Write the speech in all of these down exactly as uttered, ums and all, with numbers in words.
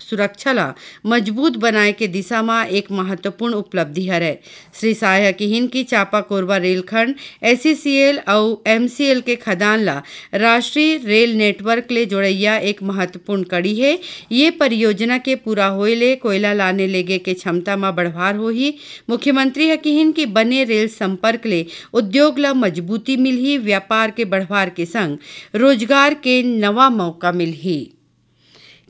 सुरक्षा ला मजबूत बनाए के दिशा म एक महत्वपूर्ण उपलब्धि हरय। श्री साय ह किहिन कि चांपा कोरबा रेलखंड एसईसीएल अउ एमसीएल के खदान ला राष्ट्रीय रेल नेटवर्क ले जोड़इया एक महत्वपूर्ण कड़ी हे। ये परियोजना के पूरा होए ले कोयला लाने लेगे के क्षमता म बढ़वार होही। मुख्यमंत्री ह किहिन कि बने रेल संपर्क ले उद्योग ला मजबूती मिलही, व्यापार के बढ़वार के संग रोजगार के नवा मौका मिलही।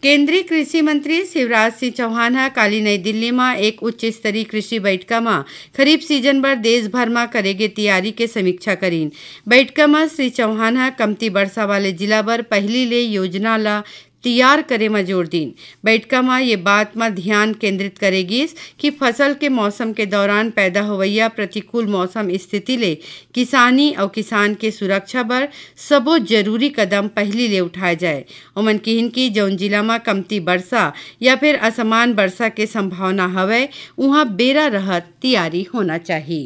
केंद्रीय कृषि मंत्री शिवराज सिंह चौहान ह काली नई दिल्ली म एक उच्च स्तरीय कृषि बैठका म खरीफ सीजन बर देश भर म करे गे तियारी के समीक्षा करीन। बैठका म श्री चौहान ह कमती बरसा वाले जिला बर पहिली ले योजना ल तियार करे म जोर दीन। बैठका म ये बात म ध्यान केंद्रित करे गिस कि फसल के मौसम के दौरान पैदा होवइया प्रतिकूल मौसम स्थिति ले किसानी अउ किसान के सुरक्षा बर सबो जरूरी कदम पहिली ले उठाए जाए। ओमन किहिन कि जउन जिला म कमती बरसा या फिर असमान बरसा के संभावना हवय, उहां बेरा रहत तियारी होना चाही।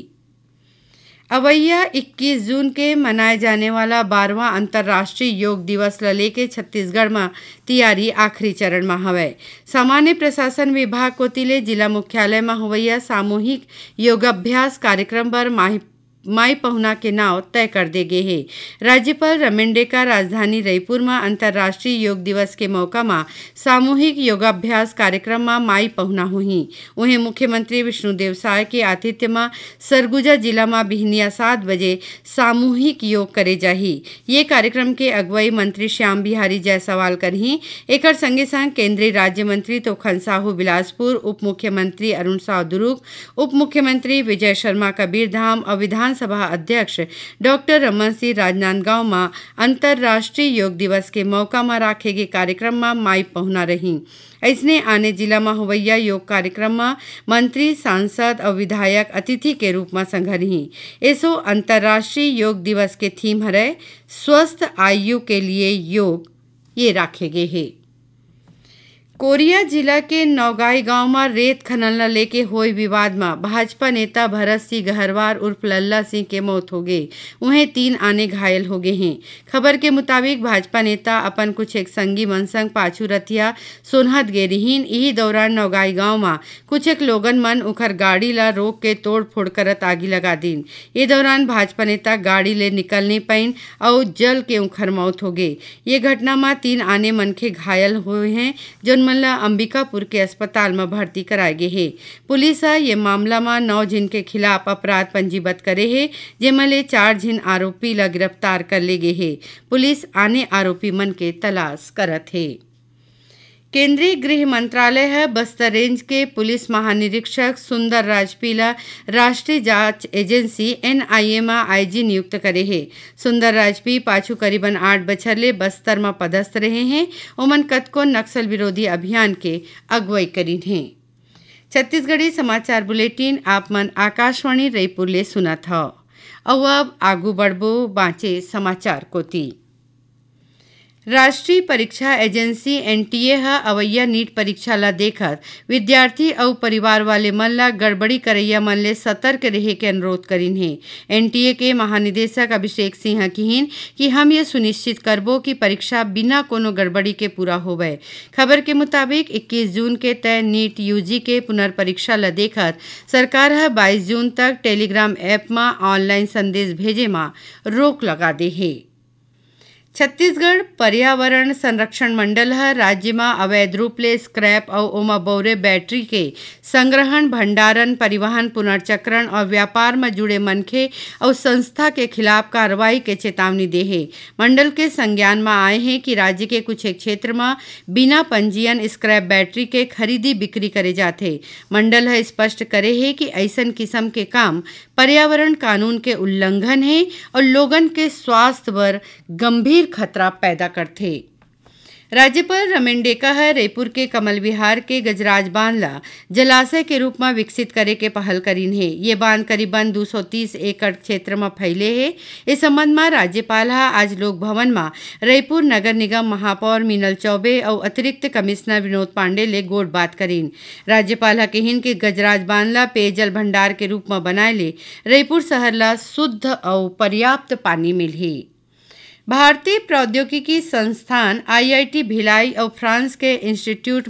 अवइया इक्कीस जून के मनाए जाने वाला बारहवाँ अंतर्राष्ट्रीय योग दिवस ल लेके छत्तीसगढ़ म तियारी आखिरी चरण म हवय। सामान्य प्रशासन विभाग कोति ले जिला मुख्यालय म होवइया सामूहिक योगाभ्यास कार्यक्रम बर माही माई पहुना के नाव तय कर दे गे हे। राज्यपाल रमेन डेका राजधानी रईपुर म अंतर्राष्ट्रीय योग दिवस के मौका म सामूहिक योगाभ्यास कार्यक्रम म माई पहुना होही। उहें, मुख्यमंत्री विष्णुदेव साय के आतिथ्य म सरगुजा जिला म बिहनिया सात बजे सामूहिक योग करे जाही। ये कार्यक्रम के अगुवाई मंत्री श्याम बिहारी जायसवाल करही। एकर संगे संग केंद्रीय राज्य मंत्री तोखन साहू बिलासपुर, उप मुख्यमंत्री अरुण साव दुरूग, उप मुख्यमंत्री विजय शर्मा कबीरधाम अउ विधानसभा अध्यक्ष डॉक्टर रमन सिंह राजनांदगांव म अंतर्राष्ट्रीय योग दिवस के मौका म राखे गे कार्यक्रम म माई पहुना रहीं। अइसने आने जिला म होवइया योग कार्यक्रम म मंत्री, सांसद अउ विधायक अतिथि के रूप म संघरहीं। एसो अंतर्राष्ट्रीय योग दिवस के थीम हरय स्वस्थ आयु के लिए योग, ये राखे गे हे। कोरिया जिला के नौगाई गांव म रेत खनन ल लेके होय विवाद म भाजपा नेता भरत सिंह गहरवार उर्फ लल्ला सिंह के मौत होगे। उहें, तीन आने घायल होगे हें। खबर के मुताबिक, भाजपा नेता अपन कुछ एक संगी मन संग पाछू रतिया सोनहत गे रिहिन। इही दौरान नौगाई गांव म कुछ एक लोगन मन उखर गाड़ी ल रोक के तोड़फोड़ करत आगी लगा दीन। ये दौरान भाजपा नेता गाड़ी ले निकल नइ पाइन अउ जल के उखर मौत होगे। ये घटना म तीन आने मनखे घायल होए हें, जउन मन ल अंबिकापुर के अस्पताल म भर्ती कराए गे हे। पुलिस ह ये मामला म नौ झिन के खिलाफ अपराध पंजीबद्ध करे हे, जेमा ले चार झिन आरोपी ल गिरफ्तार कर ले गे हे। पुलिस आने आरोपी मन के तलाश करत हे। केंद्रीय गृह मंत्रालय ह बस्तर रेंज के पुलिस महानिरीक्षक सुंदर राजपी ल राष्ट्रीय जांच एजेंसी, एनआईए, म आईजी नियुक्त करे हे। सुंदर राजपी पाछू करीबन आठ बछर ले बस्तर म पदस्थ रहे हें। ओमन कतको नक्सल विरोधी अभियान के अगुवई करीन हें। छत्तीसगढ़ी समाचार बुलेटिन आप मन आकाशवाणी रईपुर ले सुनत हव। अउ अब आगू बढ़बो बांचे समाचार कोति। राष्ट्रीय परीक्षा एजेंसी, एनटीए, ह अवइया नीट परीक्षा ल देखत विद्यार्थी अउ परिवार वाले मन ल गड़बड़ी करइया मन ले सतर्क रेहे के अनुरोध करिन हे। एनटीए के महानिदेशक अभिषेक सिंह ह किहिन कि हम ये सुनिश्चित करबो कि परीक्षा बिना कोनो गड़बड़ी के पूरा होवय। खबर के मुताबिक, इक्कीस जून के तय नीट यूजी के पुनर्परीक्षा ल देखत सरकार ह बाईस जून तक Telegram ऐप म ऑनलाइन संदेश भेजे म रोक लगा दे हे। छत्तीसगढ़ पर्यावरण संरक्षण मंडल ह राज्य म अवैध रूप ले स्क्रैप अउ ओमा बउरे बैटरी के संग्रहण, भंडारण, परिवहन, पुनर्चक्रण अउ व्यापार म जुड़े मनखे अउ संस्था के खिलाफ कार्रवाई के चेतावनी दे हे। मंडल के संज्ञान म आए हे कि राज्य के कुछ एक क्षेत्र म बिना पंजीयन स्क्रैप बैटरी के खरीदी बिक्री करे जाथे। मंडल ह स्पष्ट करे हे कि अइसन किसम के काम पर्यावरण कानून के उल्लंघन हे अउ लोगन के स्वास्थ्य बर गंभीर खतरा पैदा करथे। राज्यपाल रमेन डेका ह रईपुर के कमल विहार के गजराज बांध ल जलाशय के रूप म विकसित करे के पहल करीन हे। ये बांध करीबन दू सौ तीस एकड़ क्षेत्र म फैले हे। ए संबंध म राज्यपाल ह आज लोक भवन म रईपुर नगर निगम महापौर मीनल चौबे अउ अतिरिक्त कमिश्नर विनोद पांडे ले गोठ बात करीन। राज्यपाल ह किहिन कि गजराज बांध ल पेयजल भंडार के रूप म बनाए ले रईपुर शहर ल शुद्ध अउ पर्याप्त पानी मिलही। भारतीय प्रौद्योगिकी संस्थान, आईआईटी भिलाई अउ फ्रांस के इंस्टीट्यूट